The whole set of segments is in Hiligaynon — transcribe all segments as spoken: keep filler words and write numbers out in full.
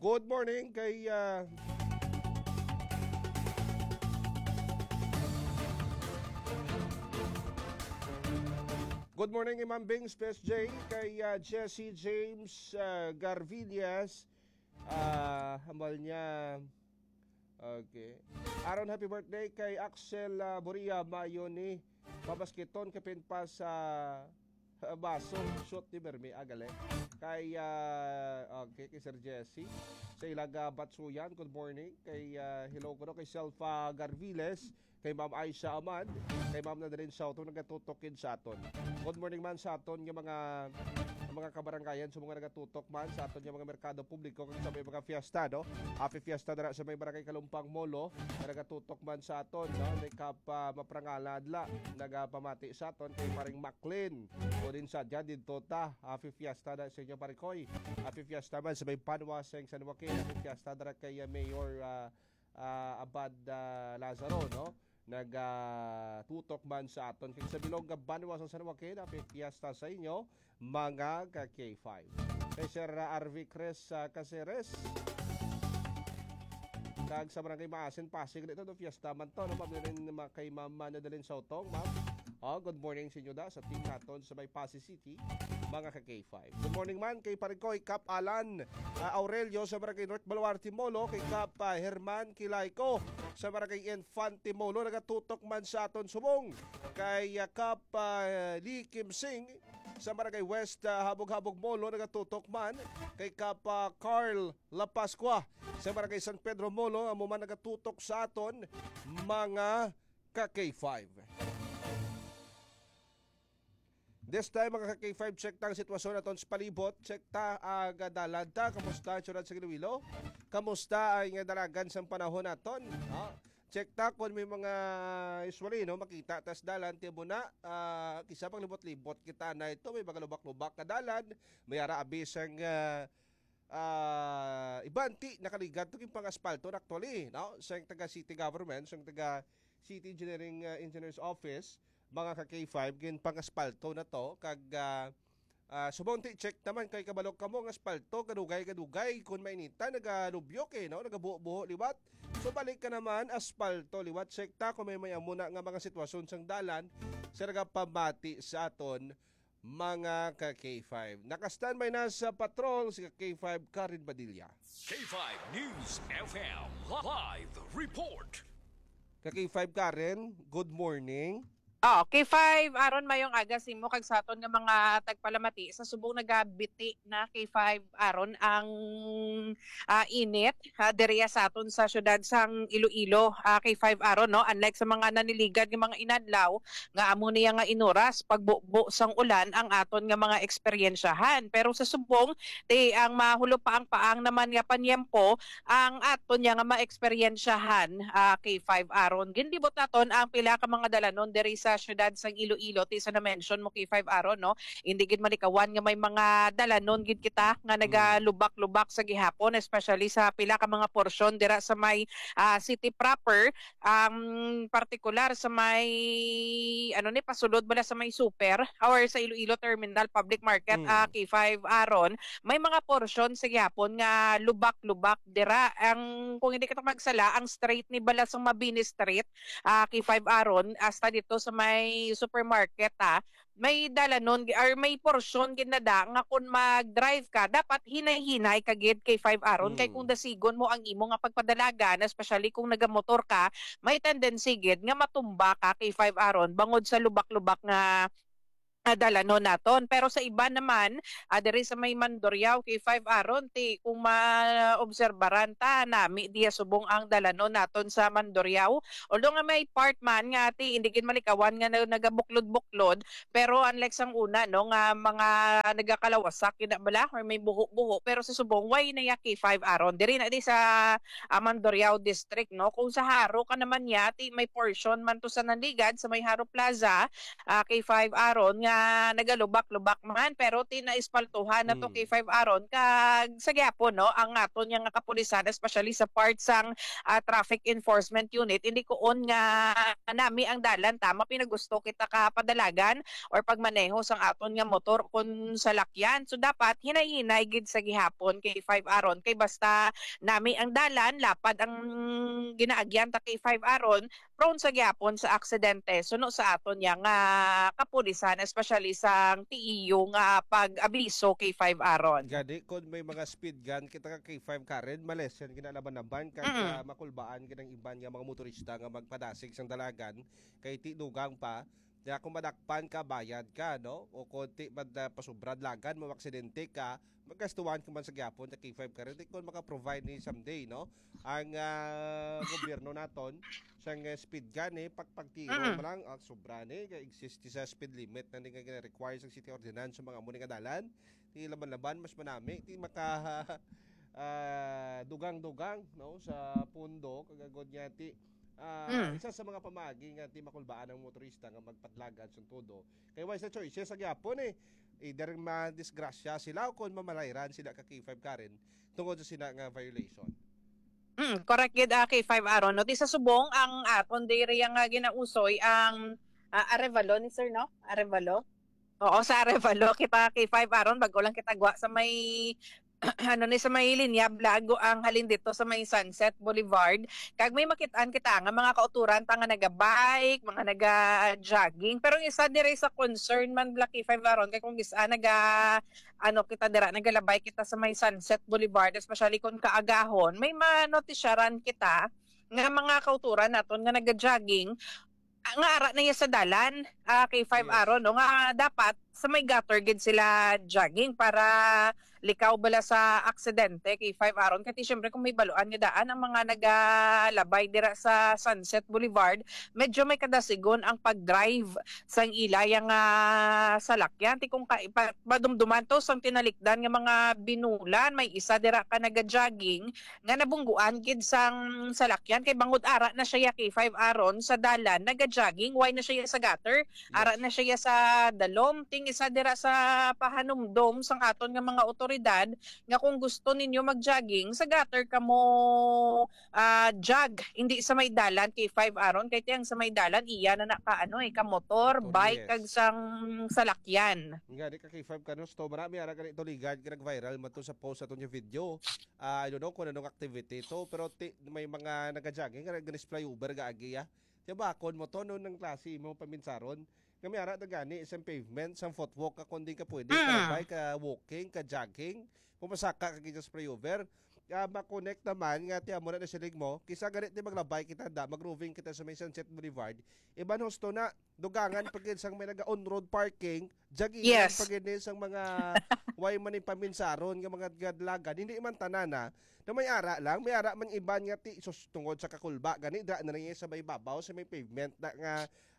Good morning kay, ah, good morning, Imam Bing, Space J, kay, ah, Jesse James, ah, Garvillas. Ah, hambal niya. Okay. Aaron, happy birthday kay Axel, ah, Boria, Mayo ni Pabasketon, kapin pa sa, ah, baso, shoot ni Bermi, agali. Kay, ah, okay, kay Sir Jesse. Sa Ilaga Batsuyan, good morning. Kay, ah, hello ko kay Selfa Garviles, kay Ma'am Aisha Amad, kay Ma'am Nadalin Soto, nagatutok gid sa aton. Good morning man sa aton nga mga, mga kabarangayan, sa mga nagatutok man sa aton nga mga merkado publiko, kag sa may mga fiesta, no? Happy fiesta dira sa may Barangay Kalumpang Molo, nga nagatutok man sa aton, no? Ni Kap, ah, Maprangala Adla, nagapamati sa aton kay Paring Maclean. O din sa dyan, dito ta, happy fiesta na sa inyo, Parikoy. Happy fiesta man sa may Banwa sa San Joaquin. Happy fiesta dira kay, ah, Mayor, ah, ah, Abad, ah, Lazaro, no? Nagatutok man sa aton. Kag sa bilog nga banwa sa San Joaquin, happy fiesta sa inyo, mga ka K five. Kay Sir R V Chris, ah, Caceres, kag sa Barangay Maasin, Pasig, dito, no, fiesta man to, no? Ma'am, yun, ma-, kay Ma'am Nadalin Sautong, ma'am. Oh, good morning sa inyo da, sa team naton sa may Pasig City, mga ka K five. Good morning man kay Parikoy Kap Alan, ah, Aurelio sa Barangay North Baluarte Molo, kay Kap, ah, Herman Kilayko sa Barangay Infante Molo, nagatutok man sa aton subong, kay, ah, Kap, ah, Lee Kim Sing sa Barangay West, ah, Habog-Habog Molo, nagatutok man, kay Kap, ah, Carl La Pascua sa Barangay San Pedro Molo, amo man nagatutok sa aton, mga ka K five. This time, mga ka K five, check ta ang sitwasyon naton sa palibot. Check ta ang, ah, dalan ta. Kamusta ang siyudad sa Iloilo? Kamusta ang, ah, dalagan sang panahon naton? Ah, check ta kung may mga, usually, no, makita tas dalan, tibo na, ah, kisa pag libot-libot kita na ito, may mga lubak-lubak nga dalan, may ara abi sang, ah, ah, iban ti nakaligad to king pangaspalto na actually, no? Sang taga city government, sang taga City Engineering, ah, Engineers Office, mga ka K five, gin pangaspalto na to, kag, ah, ah, subong ti check naman kay kabalo kamo nga aspalto, kadugay-kadugay, kun mainitan, nagalubyok eh, no? Nagabuho-buho liwat. So, balik ka naman, aspalto liwat. Check ta kung may, may amo na nga mga sitwasyon sang dalan sa nagapamati sa aton mga ka K five. Naka-standby na sa patrol si ka K five Karen Padilla. K five News F M live report. Ka K five Karen, good morning. Oh, K five, Aaron, mayong aga sa imo kag sa aton nga mga tagpalamati. Sa subong nagabiti na, K five, Aaron, ang, ah, init, ha, diriya sa aton sa siyudad sang Iloilo, ah, K five, Aaron, no? Unlike sa mga naniligad nga mga inadlaw, nga amo niya nga inuras, pagbubo sang ulan ang aton nga mga eksperyensyahan. Pero sa subong, ti ang mahulo pa ang paang naman nga panyempo, ang aton niya nga maeksperiensyahan, ah, K five Aaron. Ginlibot naton ang pila ka mga dalanon diri sa siyudad sang Iloilo, ti sa na-mention mo, K five Aaron, no? Hindi gid malikawan nga may mga dalanon gid kita nga Mm. nagalubak-lubak sa gihapon, especially sa pila ka mga porsyon dira sa may, ah, city proper, ang partikular sa may, ano ni, pasulod bala sa may super or sa Iloilo Terminal Public Market, Mm. ah, K five Aaron, may mga porsyon sa gihapon nga lubak-lubak dira. Ang, kung hindi kita magsala, ang street ni bala sa Mabini Street, ah, K five Aaron, hasta dito sa may supermarket, ah, may dalanon gi-, or may porsyon gid na da nga kung mag-drive ka, dapat hinay-hinay ka gid, K five Aaron, kay kung Mm. dasigon mo ang imo nga pagpadalagan, especially kung nagamotor ka, may tendency gid nga matumba ka, K five Aaron, bangod sa lubak-lubak nga, nga dalanon naton. Pero sa iba naman, ah, diri sa may Mandurriao, K five Aaron, ti kung maobserbaran ta, nami diya subong ang dalanon naton sa Mandurriao. Although nga may part man nga ti hindi gid malikawan nga na-, nagabuklod-buklod, pero unlike sang una, no, nga mga nagakalawasak, yun na bala, or may buho-buho, pero sa subong, way na ya K five Aaron. Diri na di sa, ah, Mandurriao District, no? Kung sa Jaro ka naman ya, ti may portion man to sa Nanligad, sa may Jaro Plaza, ah, K five Aaron, ah, nagalubak-lubak man, pero ti naispaltuhan na to, Mm. K five Aaron, kag sa gyapon, no, ang aton nga kapulisan, especially sa part sang, ah, traffic enforcement unit, hindi kuon nga nami ang dalan, tama, pinagusto kita ka padalagan or pagmaneho sang aton nga motor kon salakyan. So, dapat hinay-hinay gid sa gihapon, K five Aaron, kay basta nami ang dalan, lapad ang ginaagyan ta, K five Aaron, prone sa gyapon sa aksidente suno sa aton niya nga kapulisan, especially sang T E U nga pag-abiso, K five Aaron. Gani, kung may mga speed gun kita ka K five Karen, malesen ginalaban-laban kag, Mm. ah, makulbaan gid ang iban nga mga motorista nga magpadasig sang dalagan kay ti dugang pa. Kaya kung madakpan ka, bayad ka, no? O kung ti mad-, ah, pasubra dalagan, maaksidente ka, magastuhan ka man sa gyapon sa K five Karen. Di kung maka-provide ni someday, no? Ang, ah, gobyerno naton, sang, eh, speed gun, eh, pagpagtiro Mm. mo lang, ang sobra ni, kay exist sa speed limit na ni nga gina-require sa city ordinance sa mga amo ni nga dalan. Ti laban-laban, mas manami, ti maka, ah, dugang-dugang, no, sa pundo, kagagod niya, ti, ah, Mm. isa sa mga pamaagi nga ti makulbaan ang motorista nga magpadlagan sa todo. Kay wala sa choice sa gyapon, eh. Either madisgrasya sila o kung mamalayran sila ka K five Karen tungod sa sina nga violation. Mm, correct gid, ah, K five Aaron. No, di sa subong ang aton diri nga ginausoy ang, ah, Arevalo ni sir, no? Arevalo? Oo, sa Arevalo kita K five Aaron, bago lang kita gwa sa may, ano ni, sa may linya, blago ang halin dito sa may Sunset Boulevard. Kag may makitaan kita nga mga kauturan ta nga naga-bike, mga naga-jogging. Pero ang isa diri sa concern man, Black K five Aaron, kay kung isa naga, ano, kita dira, nagalabay kita sa may Sunset Boulevard, especially kung kaagahon, may manotisyaran kita nga mga kauturan naton nga naga-jogging, ah, nga ara na iya sa dalan, ah, K five Yes. Aaron, no, nga dapat sa may gutter gid sila jogging para likaw bala sa aksidente, K five Aaron. Kay syempre, kung may baluan nga daan ang mga nagalabay dira sa Sunset Boulevard, medyo may kadasigon ang pag-drive sang ila yang, ah, salakyan. Ti kung ka-, pa-, madumduman to sang tinalikdan nga mga binulan, may isa dira ka naga-jogging nga nabungguan gid sang salakyan kay bangod ara na siya ya K five Aaron sa dalan, naga-jogging, wala na siya sa gutter, ara Yes. na siya sa dalom. Ting isa dira sa pahanumdom sang aton nga mga otoridad nga kung gusto ninyo mag-jogging, sa gutter kamo, ah, jog, hindi sa may dalan, K five Aaron, kay tiyang sa may dalan iya na naka, ano, eh, ka motor, Motor, bike, yes. kag sang salakyan. Nga, di ka K five ka, no? So, marami ara gani to ligad nga nag-viral man to sa post aton nga video. Ah, I don't know kung anong activity to, pero ti-, may mga naga-jogging nga nag-flyover ga agi, ah. Di ba, kon mo to, no, ng klase mo paminsaron? Nga may ara na gani isang pavement, isang footwalk, ka kundi ka pwede, ka Mm. labay, ka walking, ka jogging, pumasaka ka gid sa flyover. Ah, ma-connect naman nga ti amo na nasiling mo, kisa gani ti maglabay kita da, mag-roving kita sa may Sunset Boulevard. Iban husto na, dugangan pa gid sang may naga on-road parking, jagilan Yes. pa gid ni sang mga way man ni paminsaron nga mga gadlagan. Hindi man tanan, ah, na may ara lang, may ara man iban nga ti sus tungod sa kakulba gani da na rin sa may babaw, sa may pavement na nga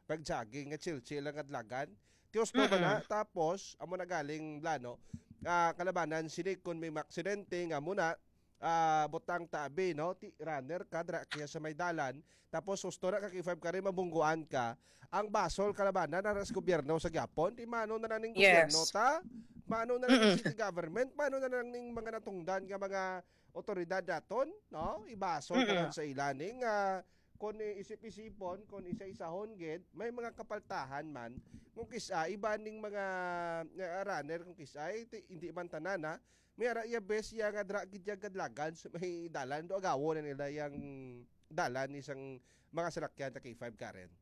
nag-jogging, nga chill-chill lang nga dalagan. Ti husto man na, Mm-mm. tapos amo na galing blano, ah, kalabanan sini kung may maksidente nga muna, ah, butang tabi, no? Ti runner ka dra kaya sa may dalan, tapos husto na ka K five ka rin, mabungguan ka. Ang basol kalabanan na sa gobyerno sa gyapon, ti mano na lang ning gobyerno Yes. ta? Mano na lang ning Mm-mm. city government? Mano na lang ning mga natungdan nga mga otoridad naton, no? Ibasol ka Mm-mm. lang sa ila ning, ah, kung isip-isipon, kung isa-isahon gid, may mga kapaltahan man. Kung kisa, iba ning mga, ah, runner, kung kisa, ay, ti-, hindi man tanan, ha? May ara iya bes iya nga dra gid iya gadlagan sa may dalan, do agawo na nila yang dalan ni sang mga salakyan sa K five, Karen.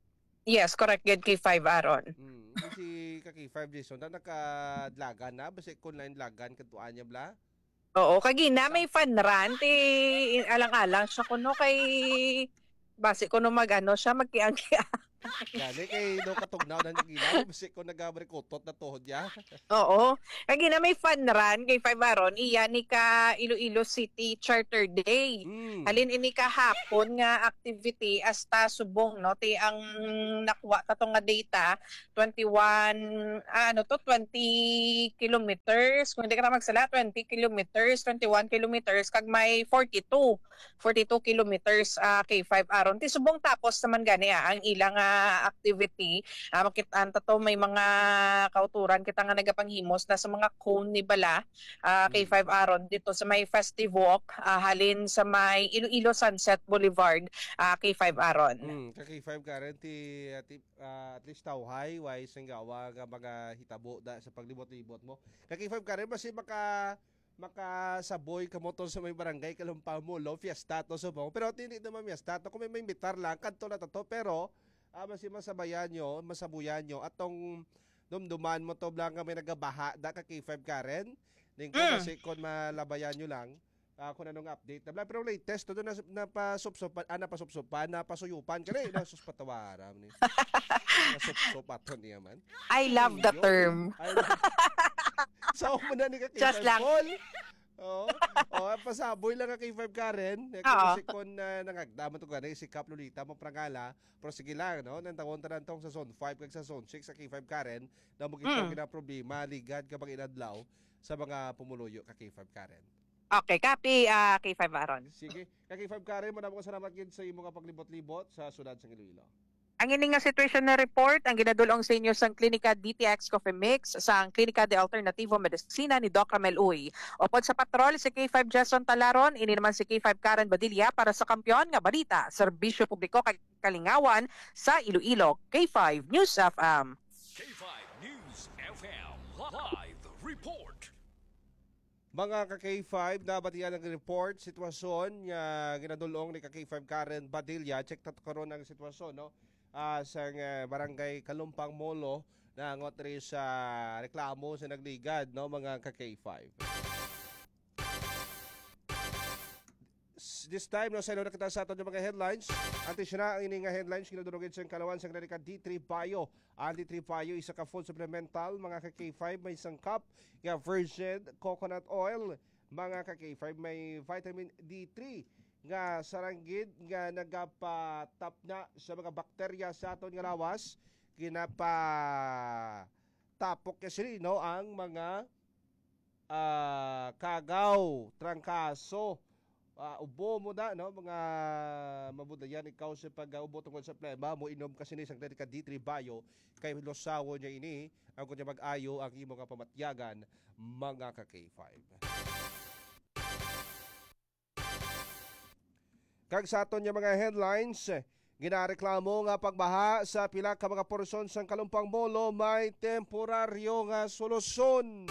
Yes, correct gid, K five, Aaron. Mm, si ka K five, Jason, na nakadlagan na, basi kung lain dalagan, kadtuan niya bla? Oo, kagina Sa may fan run, ti alang-alang siya kuno kay basi kuno mag-ano siya, magkiang-kiang. Gani kay do katugnaw na nagila, basi ko nagabrikutot na tuhod niya. Oo. Kagina may fan run kay Five Aron, iya ni ka Iloilo City Charter Day. Mm. Halin ini ka hapon nga activity hasta subong, no? Ti ang nakuha ta to nga data, twenty-one, ah, ano to, twenty kilometers. Kung hindi ka na magsala, twenty kilometers, twenty-one kilometers, kag may forty-two, forty-two kilometers, ah, K five Aron. Ti subong tapos naman gani, ah, ang ilang, ah, ah, activity. Ah, makit-an ta to, may mga kauturan kita nga nagapanghimos na sa mga cone ni bala, ah, K five Aaron, dito sa may Festive Walk, ah, halin sa may Iloilo Sunset Boulevard, ah, K five Aaron. Mm, ka K five Karen, ti, ah, ti, ah, at least tawhay, way singgawa nga mga hitabo da sa paglibot-libot mo. Ka K five Karen, basi maka, makasaboy ka mo to sa may barangay Kalumpang Molo, fiesta to subong. Pero hindi naman fiesta to, kung may maimbitar lang, kadto na to, to. Pero, ah, basi masabayan nyo, masabuyan nyo, atong dumduman mo to, blang nga may nagabaha, da ka K five Karen. Ning ko, Mm. basi kon malabayan nyo lang, ah, kung anong update. Blang, pero latest, to na, napasupsupan, ah, napasupsupan, napasuyupan, kani, nasus patawaram ni. Nasupsup ato niya man. I love the Iyo. term. Ay, sa una ni ka Just K five lang. Paul. Oh, oh, pasaboy lang ka K five Karen. Eh, Oo. Kasi kung, ah, nangagda man to gani, si Kap Lolita, maprangala. Pero sige lang, no? Nang tawon tanan tong sa Zone five kag sa Zone six sa K five Karen, na mo kita Mm. gina problema, ligad ka pag inadlaw sa mga pumuluyo ka K five Karen. Okay, copy, ah, K five Aaron. Sige. Ka K five Karen, mo na mo salamat gid sa imo nga paglibot-libot sa siyudad sa Iloilo. Ang ini nga situation na report ang ginadulong sa inyo sang Klinika D T X Coffee Mix sang Klinika de Alternativo Medicina ni Doc Ramel Uy. Upod sa patrol si K five Jason Talaron, ini naman si K five Karen Badilla para sa Kampiyon nga Balita, Serbisyo Publiko kag Kalingawan sa Iloilo, K five News F M. K five News F M live report. Mga ka K five, nabatian ang report, sitwasyon nga ginadulong ni ka K five Karen Badilla. Check ta karon ang sitwasyon, no? Ah, sa, ah, barangay Kalumpang Molo, na angot ri sa reklamo sa nagligad, no, mga ka K five. S-, this time, no, sa ilo na kita sa aton nga mga headlines. Antes na, ang ini nga headlines, ginadurugid sa kalawan sa America D three Bio. Ang D three Bio, isa ka food supplemental, mga ka K five, may sangkap nga virgin coconut oil, mga ka K five, may vitamin D three nga saranggid nga nagapatapna sa mga bakterya sa aton nga lawas, ginapatapok niya sini, no, ang mga, ah, kagaw, trangkaso, ah, ubo mo na, no, mga mabudayan ikaw sa pag-ubo tungod sa plema, mo inom ka sini sang Clerica D three Bio, kay lusawon niya ini, ang kunya mag-ayo ang imo nga pamatyagan, mga ka K five. Kag sa aton nga mga headlines, ginareklamo nga pagbaha sa pila ka mga porsyon sang Kalumpang Molo may temporaryo nga solusyon.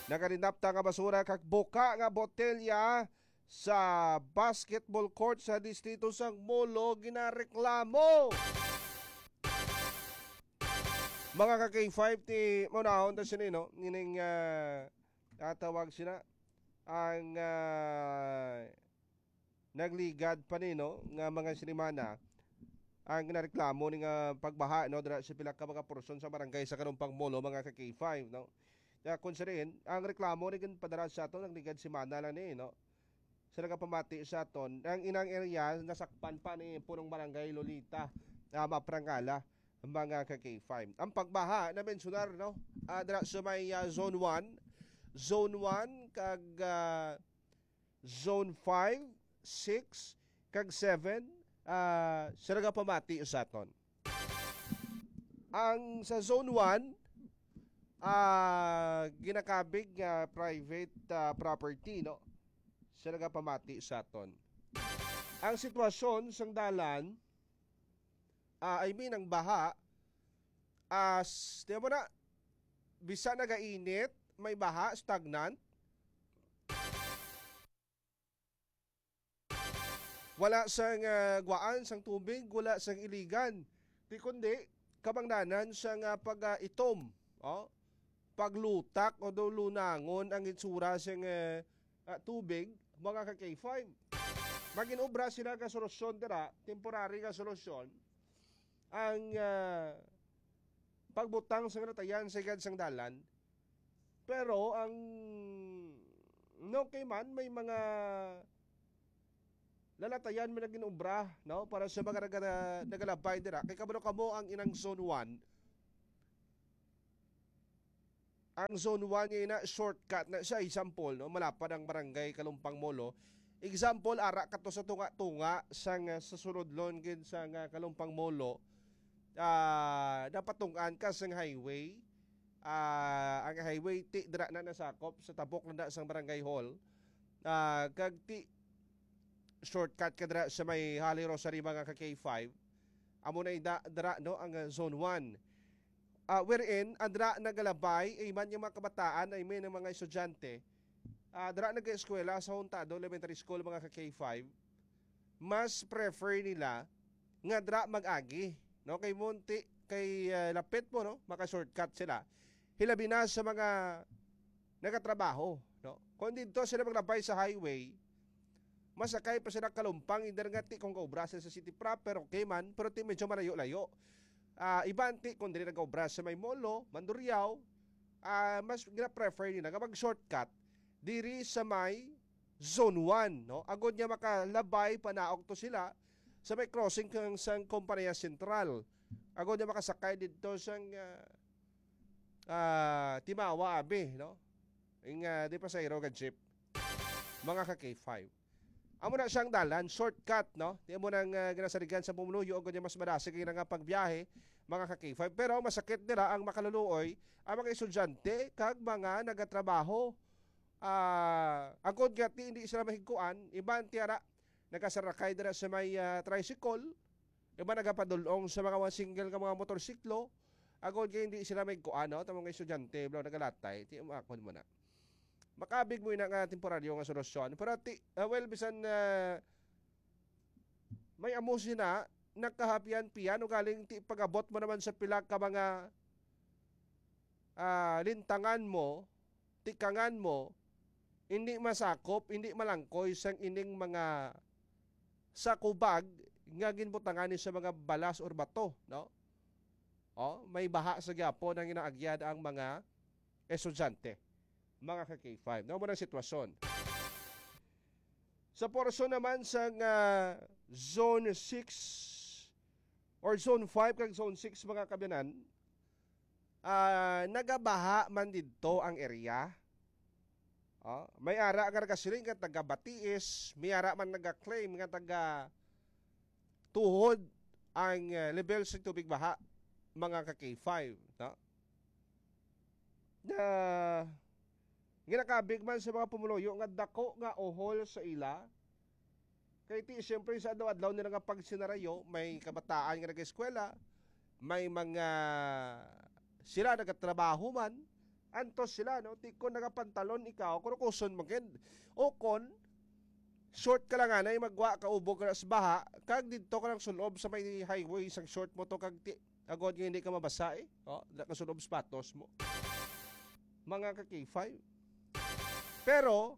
Nagalinapta nga basura kag buka nga botelya sa basketball court sa distrito sang Molo ginareklamo. Mga ka K five, ti maunahon ta sini, no? Nining, ah, tatawag sila ang, ah, nagligad pa ni, no, nga mga sinimana ang nareklamo ni nga pagbaha, no, dira sa pila ka mga porsyon sa barangay sa Kalumpang Molo, mga ka K five, no. Kaya kung sirin, ang reklamo ni padala sa aton, nagligad semana lang ni, no. Sa nagapamati sa aton, ang inang area nasakpan pa ni punong barangay Lolita, ah, Maprangala, mga ka K five. Ang pagbaha na mensionar, no, ah, dira sa may, ah, Zone one, Zone one kag, ah, Zone five, six, kag seven, ah, sa nagapamati sa aton. Ang sa Zone one, ah, ginakabig nga private, ah, property, no? Sa nagapamati sa aton. Ang sitwasyon sang dalan, ah, I mean, ang baha, as, tiyan mo na, bisa nagainit, may baha, stagnant. Wala sang, ah, gwaan sang tubig, wala sang iligan. Di kundi, kabangdanan sang, ah, pag, ah, itom, oh, paglutak o daw lunangon ang itsura sang, ah, ah, tubig, mga ka K five. Magin-obra sila ka solusyon dira, temporary nga solusyon, ang, ah, pagbutang sang latayan sa igad sang dalan. Pero ang, no, kay man, may mga lalatayan man nagin-obra, no, para sa mga naga-, nagalabay dira. Kay kabalo kamo ang inang Zone one. Ang Zone one niya ina, shortcut na siya, example, no, malapad ang barangay Kalumpang Molo. Example, ara ka to sa tunga-tunga sang, ah, sa sulodlon gid sang, ah, Kalumpang Molo, ah, napatungan ka sang highway. Ah, ang highway ti dira na nasakop sa tabok na sang barangay hall. Ah, kag ti shortcut ka dira sa may Holy Rosary, mga ka K five. Amo na ida dira, no, ang, ah, zone one. Ah, wherein, ang dira nagalabay, ay man yung mga kabataan, ay may ng mga estudyante, ah, dira nag-eskwela sa Huntado Elementary School, mga ka K five, mas prefer nila nga dira mag-agi, no? Kay munti, kay, ah, lapit mo, no? Maka-shortcut sila. Hilabi na sa mga nagatrabaho, no? Kung dito sila maglabay sa highway, masakay pa sila Kalumpang, hindi nga ti kung kaobra sila sa city proper, okay man, pero ti medyo malayo-layo. Ah, iban ti kung diri nag-obra sa may Molo, Mandurriao, ah, mas gina-prefer nila nga mag-shortcut diri sa may Zone one, no? Agod nga makalabay panaog to sila sa may crossing kang sang Kompanya Sentral. Agod nga makasakay dito sang, ah, ah, Timawa, abi, no? Ing, ah, di pasahero nga jeep. Mga ka K five. Amo na siyang dalan, shortcut, no? Di mo nang, ah, ginasaligan sa pumuluyo, agod nga mas madasig ang nga pagbiyahe, mga ka K five. Pero ang masakit nila ang makaluluoy, ang mga estudyante, kag mga nagatrabaho. Ah, agod nga ti, hindi sila mahigkuan, iban ti ara, nagasarakay dira sa may, ah, tricycle, iban nagapadulong sa mga, mga single nga mga motorsiklo, agod nga hindi sila mahigkuan, no? Tamo nga estudyante, bro, nagalatay, ti, umakon mo na. Makabig mo ina nga temporaryo nga solusyon. Pero ti, ah, well, bisan, ah, may amo sina, nagkahapian-pian, ugaling ti pag-abot mo naman sa pila ka mga, ah, lintangan mo, tikangan mo, hindi masakop, hindi malangkoy sang ining mga sakubag nga ginbutangan ni sa mga balas or bato, no? Oh, may baha sa gyapon ang inaagyan ang mga estudyante, mga ka K five. No, mo ang sitwasyon. Sa portion naman sang, ah, Zone six or Zone five kag Zone six, mga kabyanan, ah, nagabaha man didto ang area. Oh, may ara nga nagasiling nga taga Batiis, may ara man naga-claim nga taga Tuhod ang, ah, level sa tubig baha, mga ka K five, no? Na ginakabig man sa mga pumuluyo nga dako nga uhol sa ila. Kay ti, siyempre, sa adlaw-adlaw nila nga pagsinarayo, may kabataan nga nag-eskwela, may mga sila nagatrabaho man, antos sila, no? Ti kon nagapantalon ikaw, kurukuson man gid. O kon, short ka lang anay, magwa ka ubog ka na sa baha, kag didto ka lang sulob sa may highway, isang short mo to, kag ti, agod nga hindi ka mabasa, eh. Oh, dala ka sulob sapatos mo. Mga ka K five. Pero,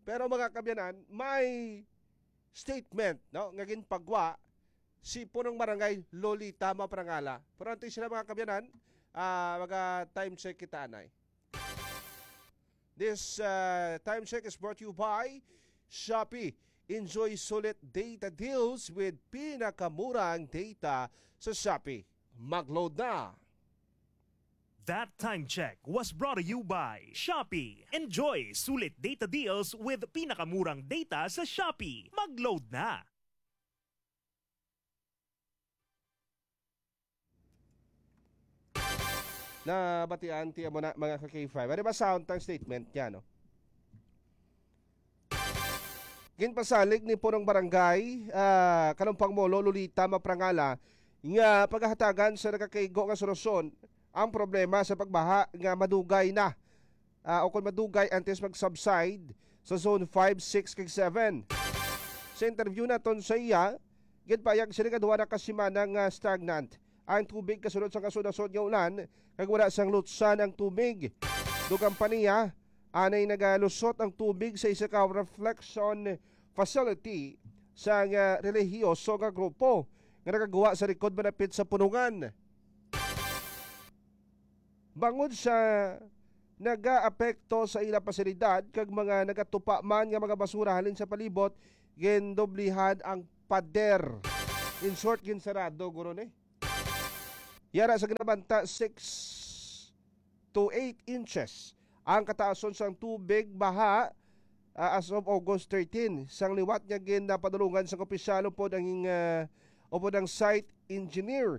pero mga kabyanan, may statement, no, nga ginpagwa si Punong Barangay Lolita Maprangala. Pero antes sila, mga kabyanan, ah, maga time check kita anay. This, uh, time check is brought to you by Shopee. Enjoy sulit data deals with pinakamurang data sa Shopee. Mag-load na! That time check was brought to you by Shopee. Enjoy sulit data deals with pinakamurang data sa Shopee. Mag-load na! Nabatian ti amo na, mga ka K five. Ano ba sound ang statement niya, no? Ginpasalig ni Punong Barangay, ah, Kalumpang Molo, Lolita Maprangala, nga pagahatagan sa nagakaigo nga solusyon ang problema sa pagbaha nga madugay na, ah, o kung madugay antes mag-subside sa Zone five, six, kag seven. Sa interview naton sa iya, ginpayag sila nga duha na ka semana nga stagnant ang tubig kasunod sa kasunod-sunod nga ulan, kag wala sang lutsan ang tubig. Dugang pa niya, anay nagalusot ang tubig sa isa ka reflection facility sa nga relihiyoso nga grupo nga nagagwa sa likod malapit sa punungan. Bangod sa nagaapekto sa ila pasilidad kag mga nagatupa man nga mga basura halin sa palibot, gindoblihan ang pader. In short, ginsarado guro ni. Yara sa ginabanta, six to eight inches ang kataason sang tubig baha, ah, as of August thirteen, sang liwat nga ginapadulungan sang opisyal upod ang, ah, upod ang site engineer.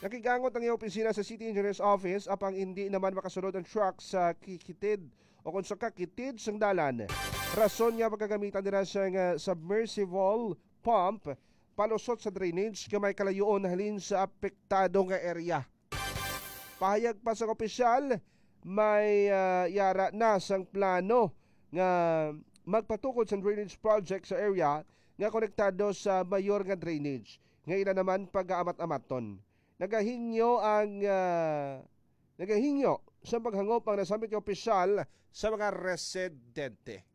Nakigangot ang iyang opisina sa City Engineer's Office, apang hindi naman makasulod ang truck sa kikitid o kung sa kakitid sang dalan. Rason nga pagkagamitan nila sang, ah, submersible pump palusot sa drainage nga may kalayuon halin sa apektado nga area. Pahayag pa sang opisyal, may, ah, yara na sang plano nga magpatukod sang drainage project sa area nga konektado sa mayor nga drainage nga ila naman pag-aamat-amaton. Nagahingyo ang, ah, nagahingyo sa paghangop ang nasambit nga opisyal sa mga residente.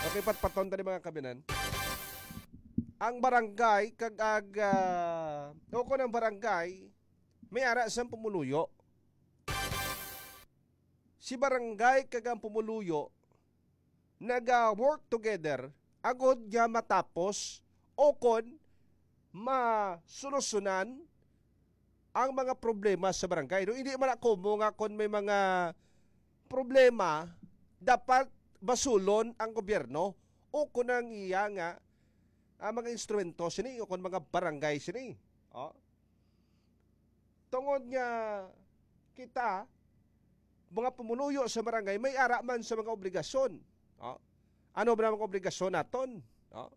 Okay, patpaton tani, mga kabinan. Ang barangay kag ag, ah, o kon ang barangay may ara sang pumuluyo. Si barangay kag ang pumuluyo naga-work together agod nga matapos o kon masolusyonan ang mga problema sa barangay. No, hindi man ako mo nga kon may mga problema, dapat basulon ang gobyerno o kon ang iya nga, ah, mga instrumento sini o kon mga barangay sini. Oh. Tungod nga kita, mga pumuluyo sa barangay, may ara man sa mga obligasyon. Oh. Ano ba ang mga obligasyon naton? Oh.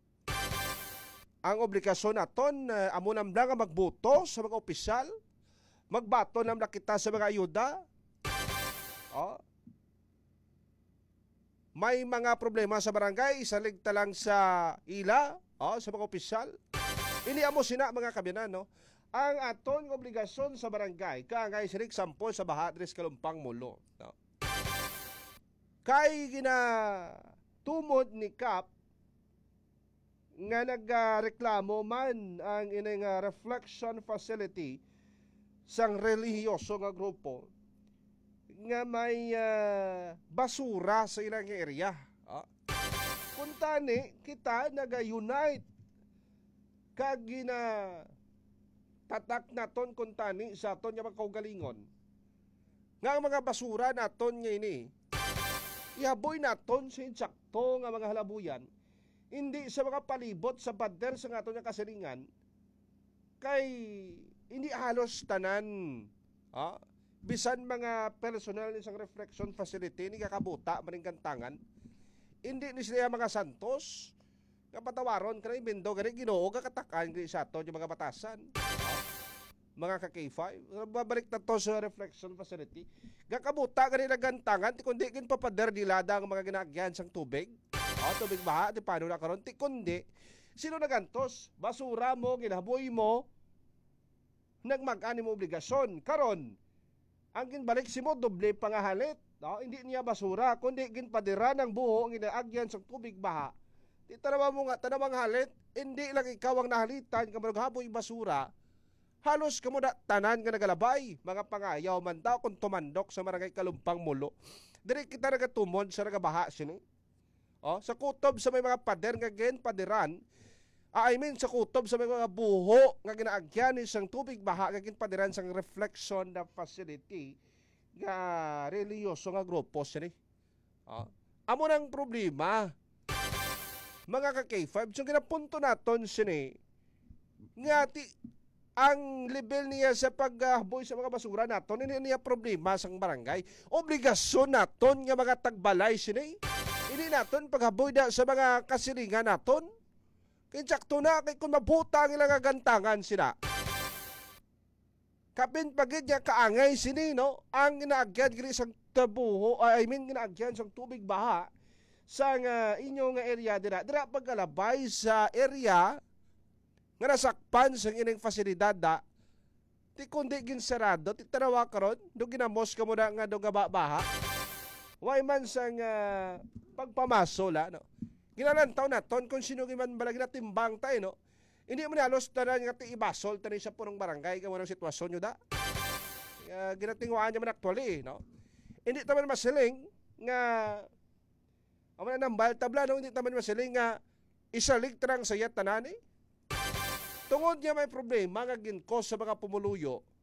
Ang obligasyon naton, eh, amo na lang nga magboto sa mga opisyal, magbaton na lang kita sa mga ayuda. Oh. May mga problema sa barangay, isalig ta lang sa ila, oh, sa mga opisyal. Ini amo sina, mga kabinan, no? Ang aton nga obligasyon sa barangay, kaangay sini example sa baha diri sa Kalumpang Molo, no? Kay ginatumod ni Kap nga nagareklamo man ang ining, ah, reflection facility sang relihiyoso nga grupo nga may, ah, basura sa ilang area. Ah. Kuntani, kita naga-unite kag ginatatak naton kuntani sa aton nga mga kaugalingon nga ang mga basura naton nga ini ihaboy naton sa insakto nga mga halabuyan, hindi sa mga palibot sa pader sa aton nga kasilingan, kay hindi halos tanan, ah, bisan mga personnel ni sang reflection facility ni gakabuta maning gantangan. Hindi ni sila mga santos nga patawaron ka na, even though gani Ginoo gakatakan gani sa aton yung mga batasan. Mga ka K five, babalik na to sa reflection facility. Gakabuta gani na gantangan, ti kundi ginpapader nila ang mga ginaagyan sang tubig. O, tubig baha, ti paano na karon? Ti kundi, sino nagantos? Basura mo, ginahaboy mo, nagmag-ani mo obligasyon. Karon, ang ginbalik simo, doble pa nga halit. No? Hindi niya basura, kundi ginpadiran ang buho nga ginaagyan sang tubig baha. Ti tanawa mo nga, tanawang halit, hindi lang ikaw ang nahalitan nga maghaboy basura. Halos kamo na tanan nga nagalabay, mga pangayaw man daw kung tumandok sa Barangay Kalumpang Mulo. Diri kita nagatumon sa nagabaha sini. Oh, sa kutob sa may mga pader nga ginpadiran, ah, I mean, sa kutob sa may mga buho nga ginaagyan ni sang tubig baha nga ginpadiran sang reflection na facility nga relihiyoso nga grupo sini. Oh, amo nang problema, mga ka K five. So, ginapunto naton sini nga ti ang level niya sa paghaboy sa mga basura naton, hindi niya problema sang barangay. Obligasyon naton nga mga tagbalay sini. Hindi naton paghaboy da sa mga kasilingan naton. Kay sakto na, kay kung mabuta ang ilang gantangan sila. Kapin pa gid nga kaangay sini, no? Ang ginaagyan gini sang tabuho, I mean, ginaagyan sang tubig baha sang, ah, inyo nga area dira. Dira pagkalabay sa area nga nasakpan sang ining pasilidad da, ti kundi ginsarado, ti tanawa karon, do ginamos ka mo na nga do nga ba-, baha. Way man sang, ah, pagpamaso la, no? Ginalantaw naton kung sino man bala ginatimbang tayo, no? Hindi man halos tanan nga ti ibasol tani sa purong barangay kamo ng sitwasyon nyo da. Ah, ginatinguhaan niya man actually, no? Hindi taman masiling nga, ang mga nambal tabla, no? Hindi taman masiling nga isalig tarang sa iya tanan, eh. Tungod niya may problema nga ginkos sa mga pumuluyo,